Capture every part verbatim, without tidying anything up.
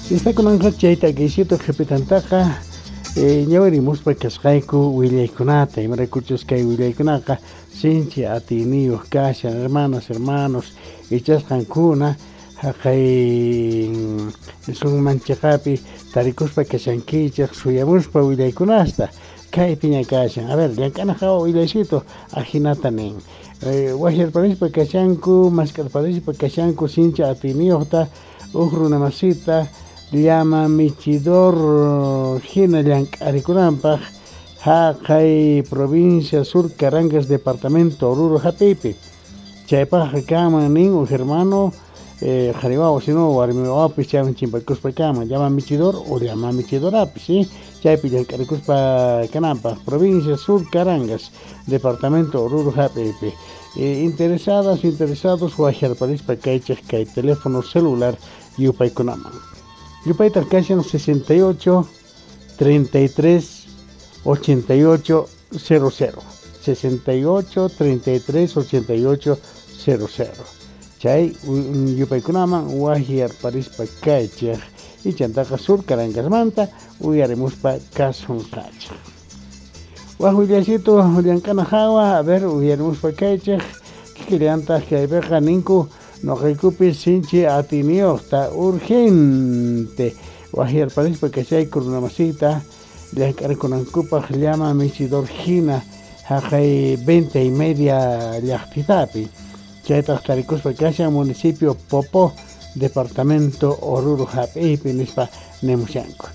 Está kunanqa chay takiysitu qhipitantaqa ñawirimuspa kasqayku willaykunata, imaraykuchus kay willaykunaqa sinchi atiyniyuq kashan, hermanas, hermanos, ichasqankuna haqay sunmanchiqapi tarikuspa kashankichik suyamuspa willaykunasta kaypiña kashan. A ver, llank'ana hawa willaysitu ajinata nin. Waqyarparispa kashanku, mask'arparispa kashanku sinchi atiyniyuqta uj runamasita llama michidor hina llank'arikunanpaq haqay provincia Sur Carangas departamento Oruro hap'iypi. Chaypaqqa kanman nin uj hermano qhari wawa sino warmi wawapis chayman chimpakuspa kanman llama michidor o llama michidorapis, ¿sí? Chaypi llank'arikuspa kananpaq provincia Sur Carangas departamento Oruro hap'iypi. Interesadas, interesados waqyarparispa kaychik kay teléfono celular yupaykunaman. Yupaytaq kashan sesenta y ocho, treinta y tres, ochenta y ocho, cero cero. sesenta y ocho, treinta y tres, ochenta y ocho, cero cero. Chay yupaykunaman waqyarparispa kaychik ichantaqa Sur Carangasmanta uyarimuspa kasunqachik. Waq willaysitu llank'ana hawa, a ver, uyarimuspa kaychik kikillantaq kaypiqa ninku noqaykupis sinchi atiyniyuqta urgente waqyarparispa kashayku runamasita llank'arikunankupaq llama michidor hina haqay venta y media llaqtitapi. Chaytaq tarikuspa kashan municipio Popó, departamento Oruro hap'iypi nispa nimushanku.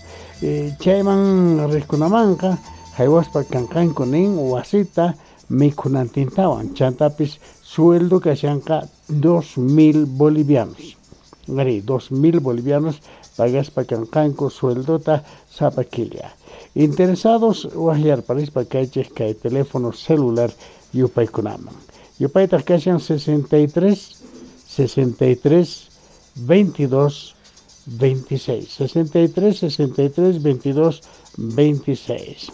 Chayman riqkunamanqa haywaspa kanqanku nin wasita mikhunantintawan, chantapis sueldo kashanqa dos mil bolivianos. Ari, dos mil bolivianos pagaspa kanqanku sueldota sapa killa. Interesados waqyarparispa kaychik kay teléfono celular yupaykunaman. Yupaytaq kashan sesenta y tres, sesenta y tres, veintidós, veintiséis. sesenta y tres, sesenta y tres, veintidós, veintiséis.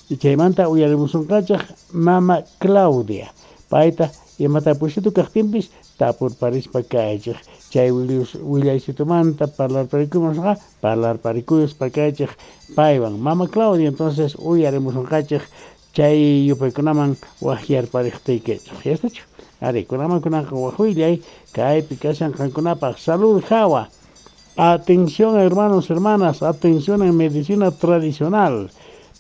Y chaymanta uyarimusunqachaq mama Claudia. Payta imatapuysitu kaqtinpis tapurparispa kaychik. Chay willaysitumanta parlarparikumusqa parlarparikuyuspa kaychik paywan. Mama Claudia, entonces uyarimusunqachik chay yupaykunaman waqyarpariqtiykichik. Ya estachu? Ari, kunaman kunanqa waq willay kaypi kashan qankunapaq salud hawa. Atención hermanos, hermanas, atención en medicina tradicional.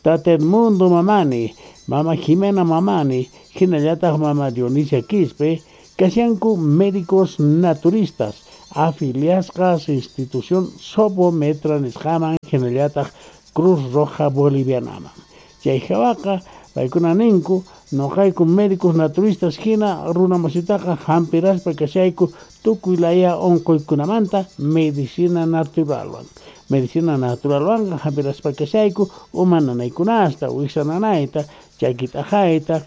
Tata Edmundo Mamani, Mama Jimena Mamani, hinallataq Mama Dionisia Quispe, kashanku médicos naturistas, afiliasqas institución Sobometra nisqaman, hinallataq Cruz Roja Bolivianaman. Chay hawaqa paykuna ninku noqayku médicos naturistas hina runamasitaqa hampiraspa kashayku tukuy laya unquykunamanta medicina naturalwan. Medicina naturalwanqa hampiraspa kashayku uma nanaykunasta, wiksa nanayta, chaki t'aqayta,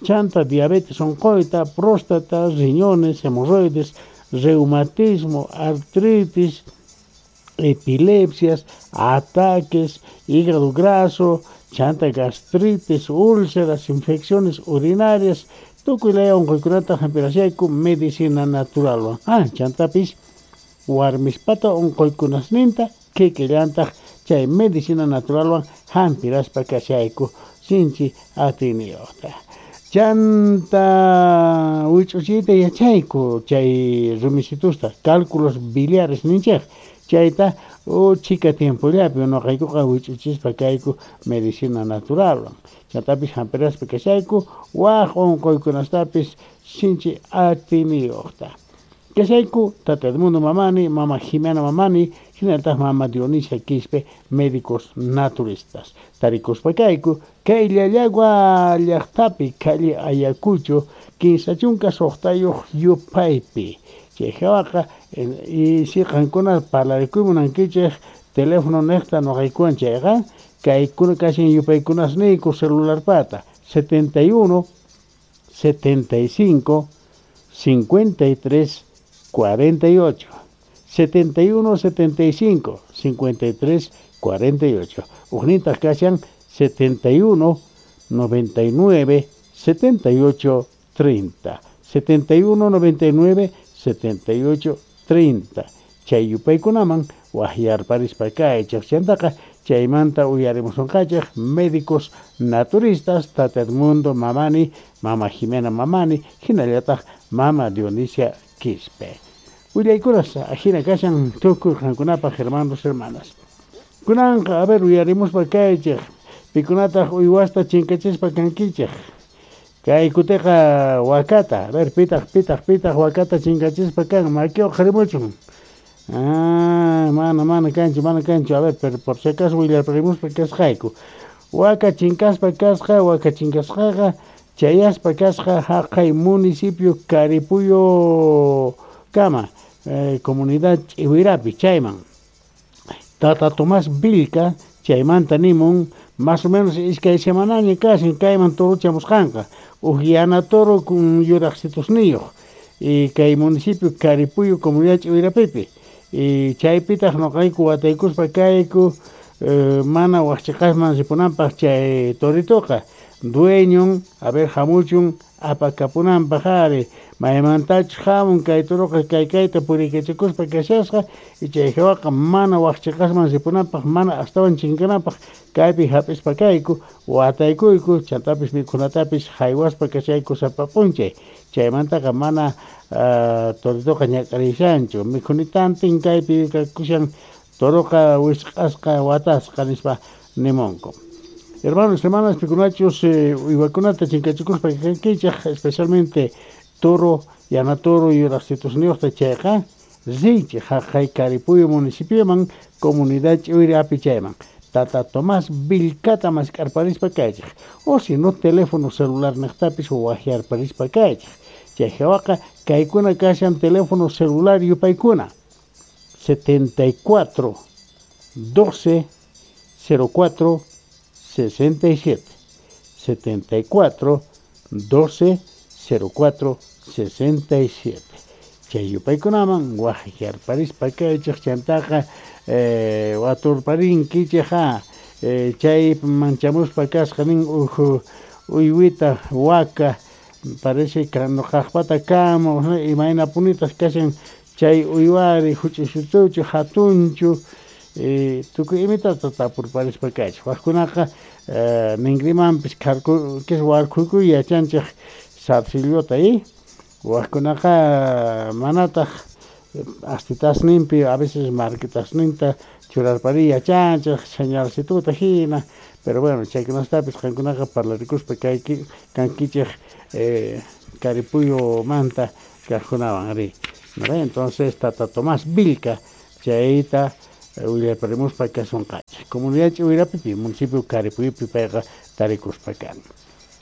chanta diabetes unquyta, próstata, riñones, hemorroides, reumatismo, artritis, epilepsias, ataques, hígado graso, chanta gastritis, úlceras, infecciones urinarias, tukuy laya unquykunata hampirashayku medicina naturalwan. Ah, chantapis warmispata unquykunasninta kikillantaq chay medicina naturalwan hampiraspa kashayku sinchi atiyniyuqta. Chanta wich'uchiyta yachayku chay rumisitusta, cálculos biliares ninchik. Chayta chika tiempollapi noqaykuqa wich'uchispa kayku medicina naturalwan. Chantapis hampiraspa kashayku waq unquykunastapis sinchi atiyniyuqta. Kashayku Tata Edmundo Mamani, Mama Jimena Mamani, hinallataq Mama Dionisia Quispe, médicos naturistas. Tarikuspa kayku kay Llallagua llaqtapi calle Ayacucho, kinsa chunka suqtayuq yupaypi. Chay hawaqa y si qankuna parlarikuy munankichik teléfono niqta noqaykuwan chayqa kaykuna kashan yupaykunasniyku celularpata setenta y uno, setenta y cinco, cincuenta y tres, cuarenta y ocho. setenta y uno, setenta y cinco, cincuenta y tres, cuarenta y ocho. Ujnintaq kashan setenta y uno, noventa y nueve, setenta y ocho, treinta. setenta y uno, noventa y nueve, setenta y ocho, treinta. Chay yupaykunaman waqyarparispa kaychej chantaqa chaymanta uyarimusunqachej médicos naturistas Tata Edmundo Mamani, Mama Jimena Mamani, hinallataq Mama Dionisia Quispe. Willaykunas ajina kashan tukuy qankunapaq hermanos hermanas. Kunanqa a ver uyarimuspa kaychej pikunataq uywasta chinkachispa kankichej. Kay kutiqa wakata, a ver pitaq pitaq pitaq wakata chinkachispa kan maki uqharimuchun. Ah, mana mana kanchu mana kanchu, a ver, pero por si acaso willarparimuspa kasqayku. Waka chinkaspa kasqa, waka chinkasqaqa chayaspa kasqa haqay municipio Caripuyo kama, eh, comunidad Ch'iwirapi chayman. Tata Tomás Vilca chaymanta nimun más o menos iskay semanaña kashan kayman torochamusqanqa uj yana toro kun yuraqsitusniyuq y kay municipio Caripuyo comunidad Ch'iwirapipi. Y chaypitaq noqayku wataykuspa kayku eh, mana waqchiqasman ripunanpaq chay toritoqa dueñon a ver hamuchun apakapunanpaq ari maymantachus hamun kay toroqa kay kayta puriykachikuspa kashasqa y chay hawaqa mana waqchiqasman ripunanpaq mana astawan chinkananpaq kaypi hap'ispa kayku wataykuyku chantapis mikhunatapis haywaspa kashayku sapa p'unchay chaymantaqa mana uh, toritoqa ñak'arishanchu mikhunitantin kaypi kakushan toroqa wisq'asqa watasqa nispa nimunku. Hermanos, hermanas, pikunachus eh, uywakunata chinkachikuspa kankichej especialmente toro, yana toro yuraqsitusniyuqta chayqa riychej haqay Caripuyo municipioman comunidad Ch'iwirapi chayman. Tata Tomás Vilcata mask'arparispa kaychej o si no teléfono celular niqtapis waqyarparispa kaychej. Chay hawaqa kaykuna kashan teléfono celular yupaykuna setenta y cuatro doce cero cuatro sesenta y siete setenta y cuatro doce cero cuatro sesenta y siete. Chay yupaykunaman waqyarparispa kaychej chantaqa eh, waturparinkichej eh, chay manchamuspa kasqa nin uj uywita waka parece que noqaqpata kama imaynapunitas kashan chay uywari huch'uysutuchu hatunchu eh, tukuy imitata tapurparispa kaychej waqkunaqa eh, ninrimanpis kharku warkhuykuy yachanchej zarcillota y waqkunaqa manataq astitasninpi a veces marquitasninta churarpari yachanchej señalcituta hina pero bueno chaykunastapis qankunaqa parlarikuspa kayki kankichej eh, Caripuyo manta kaqkunawan ari. ¿No? Entonces Tata Tomás Vilca chayta willarparimuspa kasunqachej comunidad Ch'iwirapipi municipio Caripuyupi payqa tarikuspa kan.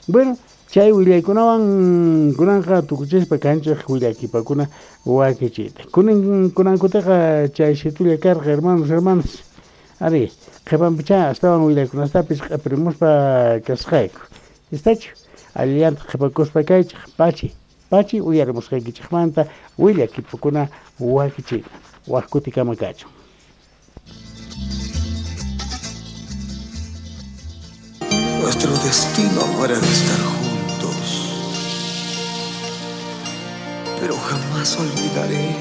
Bueno, chay willaykunawan kunanqa tukuchispa kanchej willakipakuna wakichiyta. Kunan kunankutaqa chay situlla karqa hermanos hermanas ari qhipanpicha astawan willaykunastapis q'ipirimuspa kasqayku. Istachu allillanta qhipakuspa kaychej pachi pachi uyarimusqaykichejmanta willakipakuna wakichiyta waq kutikama kachun. Nuestro destino no era de estar juntos, pero jamás olvidaré